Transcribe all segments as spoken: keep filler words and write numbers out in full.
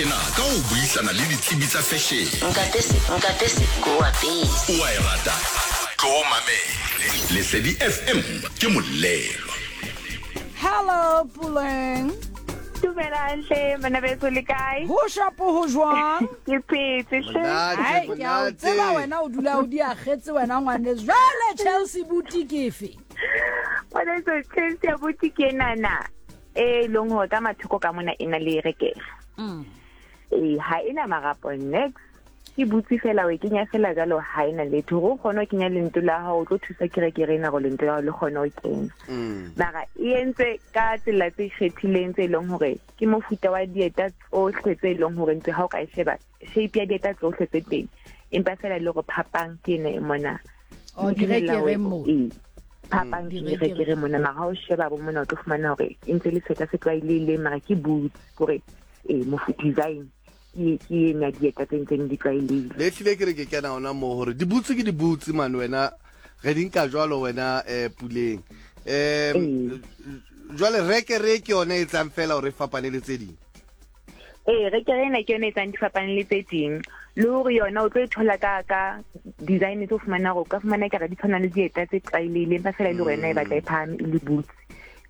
ena ka ho buisana le ditsebi tsa fashion. Nkapese, nkapese ko apese. O a e rata? Tlo mamele. Lesedi F M ke molelo. Hello Puleng. Dumelang hle, bana beso le kae? Ho shapo ho jwang? Ke phetse hle. Ai, ke a o tseba wena o dula o di akgetse wena ngwaneso. Jwale Chelsea boutique efe? Ngwaneso Chelsea boutique enana e leng hore ka mathoko ka mona e na le rekere. Mm. Eh, ha ena marapo next. Ke butse fela o e kenya fela jalo ha ena letho. Hore o kgone ho kenya lento la hao, o tlo thusa kerekere ena hore lento la hao le kgone ho kena. Mara e entse ka tsela tse ikgethileng tse leng hore ke mofuta wa dieta tsohle tse leng hore ntse ha o ka e sheba shape ya dieta tsohle tse teng, empa fela le hore phapang ke ena e mona. O direkere mo. Ee, phapang ke direkere mona. Mara ha o sheba bo mona o tlo fumana hore e ntse le seta se tlwaelehileng, mara ke boots hore ee mofuta design ke ke ena dieta tse ntseng di tlwaelehile. Le hlile ke re ke kena hona moo hore di-boots ke di-boots man wena, re di nka jwalo wena eh Puleng. Um jwale rekere ke yona e etsang fela hore e fapane le tse ding. Ee, rekere ena ke yona e etsang di fapane le tse ding. Le hore yona o tlo e thola ka ka design tse o fumana hore o ka fumana ekare di tshwana le dieta tse tlwaelehileng, empa fela e le hore yona e batla e phahame e le boots.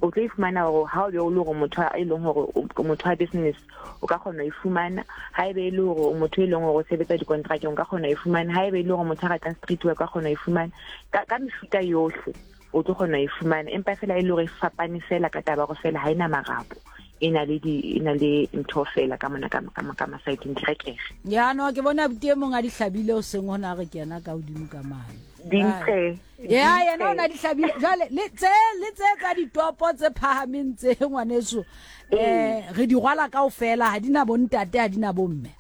O tlo e fumana hore ha o be o le hore motho e leng hore o motho wa business o ka kgona ho e fumana. Ha ebe e le hore o motho e leng hore o sebetsa dikontrakeng o ka kgona ho e fumana. Ha ebe e le hore motho a ratang street wear o ka kgona ho e fumana. Ka ka mefuta yohle o tlo kgona ho e fumana, empa fela e le hore e fapane fela ka taba hore fela ha ena marapo, e na le di e na le ntho fela ka mona ka ka ka masaeteng direkere. Ya no ke bona buti e mong a di hlabile o seng hona re kena ka hodimo ka mane. Dintle. Ya yena o na di hlabile. Jwale le tse le tse tsa ditopo tse phahameng tse ngwaneso, eh re di rwala kaofela, ha di na bontate, ha di na bomme.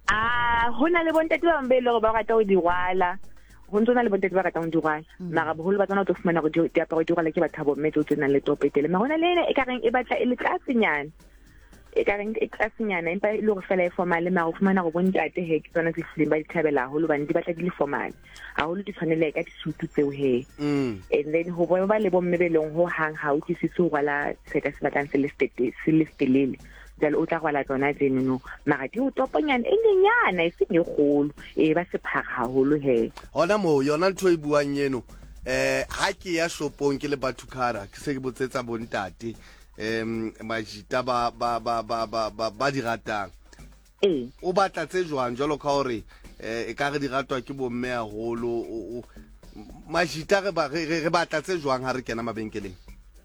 Ah, hona le bontate ba bang be le hore ba rata ho di rwala. Ho ntso na le bontate ba ratang ho di rwala. Mara boholo ba tsona o tlo fumana hore diaparo di rwala ke batho ba bomme tseo tse nang le topo e telele. Mara hona le ena e ka reng e batla e le tlasenyana. E ka reng e tlasenyana empa e le hore fela e formal, mara o fumana hore bontate he ke tsona tse hlileng ba di thabela haholo hobane di batla di le formal. Haholo di tshwaneleha ka disutu tseo he. And then ho ba le bomme be leng ho hang ha utlwisise ho rwala seka se batlang se le se le setelele. Jwale o tla rwala tsona tsenono, mara di o toponyana e nyenyana e seng e kgolo, e ba sephara haholo he. Hona moo yona ntho e buang eno, eh ha ke ya shopong ke le Bathukara ke se ke botsetsa bontate em majita ba ba ba ba ba ba di ratang. Ee. O batla tse jwang jwalo ka hore eh e ka re di ratwa ke bomme haholo, majita re ba re batla tse jwang ha re kena mabenkeleng?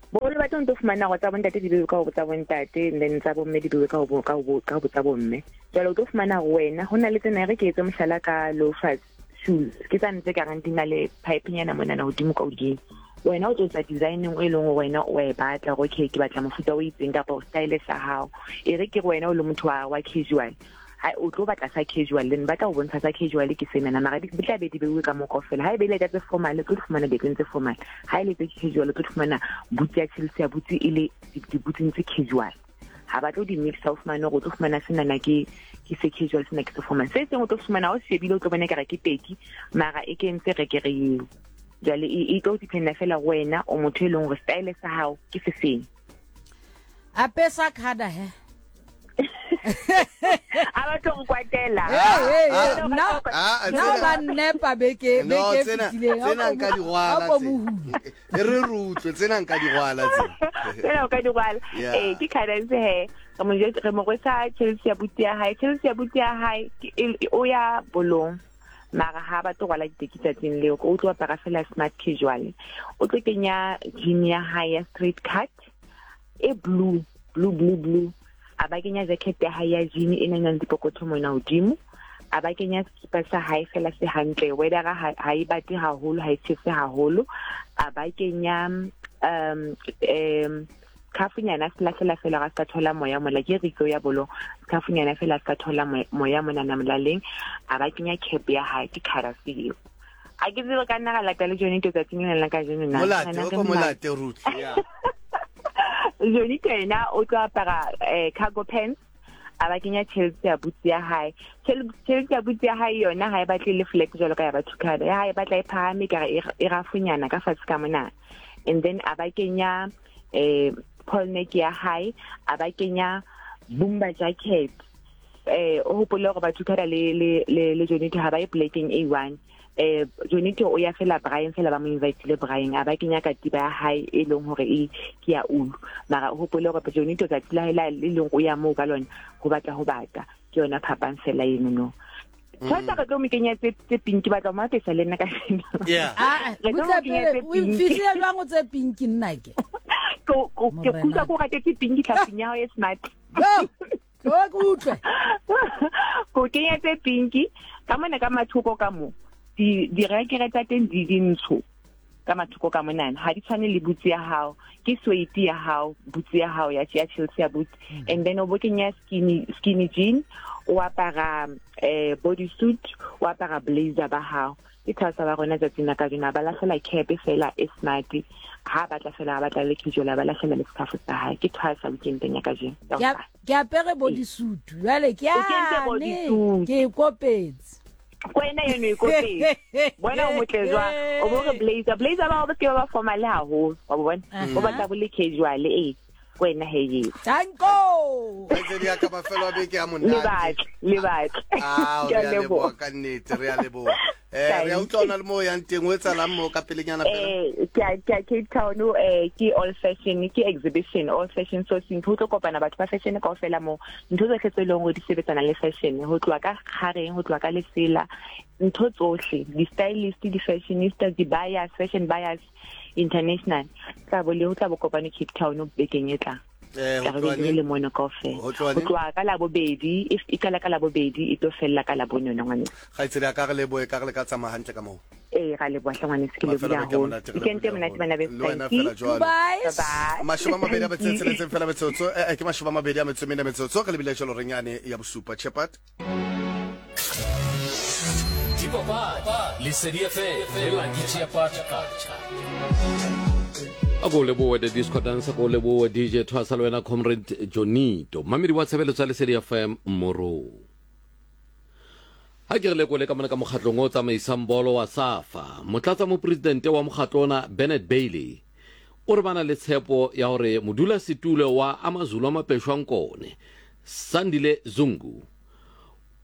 Boholo ba teng o tlo fumana hore tsa bontate di bewe ka ho tsa bontate, and then tsa bomme di bewe ka ho ka ho ka ho tsa bomme. Jwale o tlo fumana hore wena ho na le tsena, re ke etse mohlala ka loafers shoes, ke tsane tse kareng di na le pipe-nyana monana hodimo ka hodimo. Wena o tlo etsa designing e leng hore wena o e batla hore okay ke batla mofuta o itseng kapa style sa hao. E re ke re wena o le motho wa wa casual, ha o tlo batla sa casual, then ba tla o bontsha sa casual ke senana, mara di tla be di beuwe ka mokgwa fela. Ha ebe le ka tse formal, o tlo fumana dieteng tse formal. Ha ile tse casual, o tlo fumana boots ya Chelsea, boots e le di-boots tse casual. Ha ba tlo di mixa, o fumane hore o tlo fumana senana ke ke se casual, sena ke se formal. Se seng o tlo fumana o shebile o tlo bona ekare ke teki, mara e kentse rekere eo. Jwale e tlo dependa fela ho wena o motho e leng hore style sa hao ke se feng. Apesa khada he. A ba tlo nkwatela. Nna nna ba nnepa beke beke fitileng. Tsena nka di rwala tse. E re re utlwe tsena nka di rwala tse. Tsena o ka di rwala. Eh ke cadence he. Re mo re mo rwesa Chelsea buti ya hae. Chelsea buti ya hae o ya bolong. Mara ha ba tlo rwala diteki tsatsing leo, o tlo apara fela smart casual. O tlo kenya jean ya hae ya straight cut e blue, blue blue blue. A ba kenya jacket ya hae ya jean e nang le dipokotho mona hodimo. A ba kenya sekipa sa hae fela se hantle, weather ha e bate haholo, ha e tjhese haholo. A ba kenya um um khafunyana se lahlela fela ga se thola moya mola ke ritso ya bolo, khafunyana fela se thola moya mona na molaleng. A ba kenya cap ya hae ke kharasi eo. A ke tsebe ka nna ga lata le Johnny to tsatsing lena la kajeno na. Molate o ko molate Ruth ya. Johnny yena o tlo apara cargo pants, a ba kenya Chelsea boots ya hae. Chelsea boots ya hae yona ha e batle le flat jwalo ka ya Bathukada, ya hae e batla e phahame ka re e rafunyana ka fatshe ka mona. And then a ba kenya eh polo neck ya hae, a ba kenya bomber jacket Eh o hopole hore batho kada le le le le Jonito ha ba ye plekeng A one. Eh Jonito o ya fela Brian fela ba mo invitile Brian a ba kenya katiba ya hae e leng hore e ke ya ulu. Mara o hopole hore Jonito tsatsi la hae la le leng o ya moo ka lona ho batla ho bata. Ke yona phapang fela eno no. Thata re tlo mo kenya tse tse pink batla mo apesa le nna ka seno. Yeah. Ah, Re tlo butle mo kenya pele tse o pink. mfihlile jwang o tse pink nna ke? Ko ko ke Morena. kutlwa ko ratetse pink tlhaping ya hao e smart. Yo, tlo ke utlwe. Ko kenya tse pinki ka mona ka mathoko ka mo di direkere tsa teng di dintsho ka mathoko ka monana ha di tshwane le boots ya hao ke suede ya hao boots ya hao ya ya Chelsea ya boot and then o bo kenya skinny skinny jean o apara eh body suit o apara blazer ba hao ke thasa ba rona tsatsing la kajeno ba lahlela cap fela e smart ha batla fela ba batla le casual ba lahlela le scarf sa hae ke thasa weekendeng ya kajeno Ke a- ke apere bodysuit jwale ke O kentse yane bodysuit. ke e kopetse. Kwena eno e kopetse bona o motle jwang o bo re blazer blazer ba o se ke ba ba formal haholo wa bo bona o batla bo le casual eh kwena he ye Danko. Kgaitsedi ya ka mafelo a beke a le monate. batle le batle Ah, Ke re a a leboha leboha. ka nnete, re a leboha. Eh re a utlwa o na le mo o yang teng o etsahalang moo ka pelenyana fela. Eh ke a ke a Cape Town eh ke all fashion ke exhibition all fashion sourcing ho tlo kopana batho ba fashion kaofela moo ntho tsohle tse leng hore di sebetsana le fashion ho tloha ka kgareng ho tloha ka lesela ntho tsohle di-stylist di-fashionista di-buyers fashion buyers international tla bo le ho tla bo kopane Cape Town bekeng e tlang Eh tla ho re tloha be re neng? le mono kaofela Ho tloha ho neng? tloha ka labobedi e e qala ka labobedi e tlo fella ka labone yona ngwaneso Kgaitsedi ya ka re lebohe ka re le ka tsamaya hantle ka moo. ee ra leboha hle ngwaneso ke Mafelo lebohile a beke a haholo monate, re weekend e lebohile monate haholo. bana beso Le wena thank you. fela jwalo. Bye. Bye-bye. Mashome a mabedi a metso e Thank you. tsheletseng fela metsotso eh eh, ke mashome a mabedi a metso e mene metsotso re lebile jwalo reng yane ya bosupa Shepherd. Dipapadi, Lesedi F M, le Lucky Shepherd Culture. A ko lebohe the disco dancer ko lebohe D J Thwasa le wena Comrade Jonito mamedi wa tshebeletso ya Lesedi F M moro ha ke re lekole ka mona ka mokgatlong o tsamaisang bolo wa SAFA motlatsa mopresidente wa mokgatlo ona Bernard Bailey o re bana le tshepo ya hore modulasetulo wa AmaZulu a Mapeshwang Kone Sandile Zungu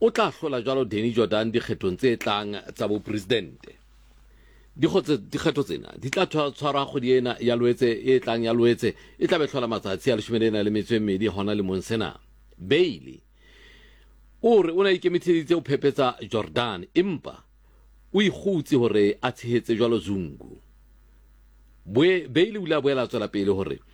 o tla hlola jwalo Danny Jordan dikgethong tse tlang tsa bopresidente. Dikgotse dikgetho tsena di tla tshwa- tshwarwa kgwedi ena ya Loetse e tlang ya Loetse e tla be hlola matsatsi a leshome le na le metso e mmedi hona lemong sena. Bailey o re o ne a ikemiseditse ho phephetsa Jordan empa o ikgutse hore a tshehetse jwalo Zungu. Boe Bailey o ile a boela a tswela pele hore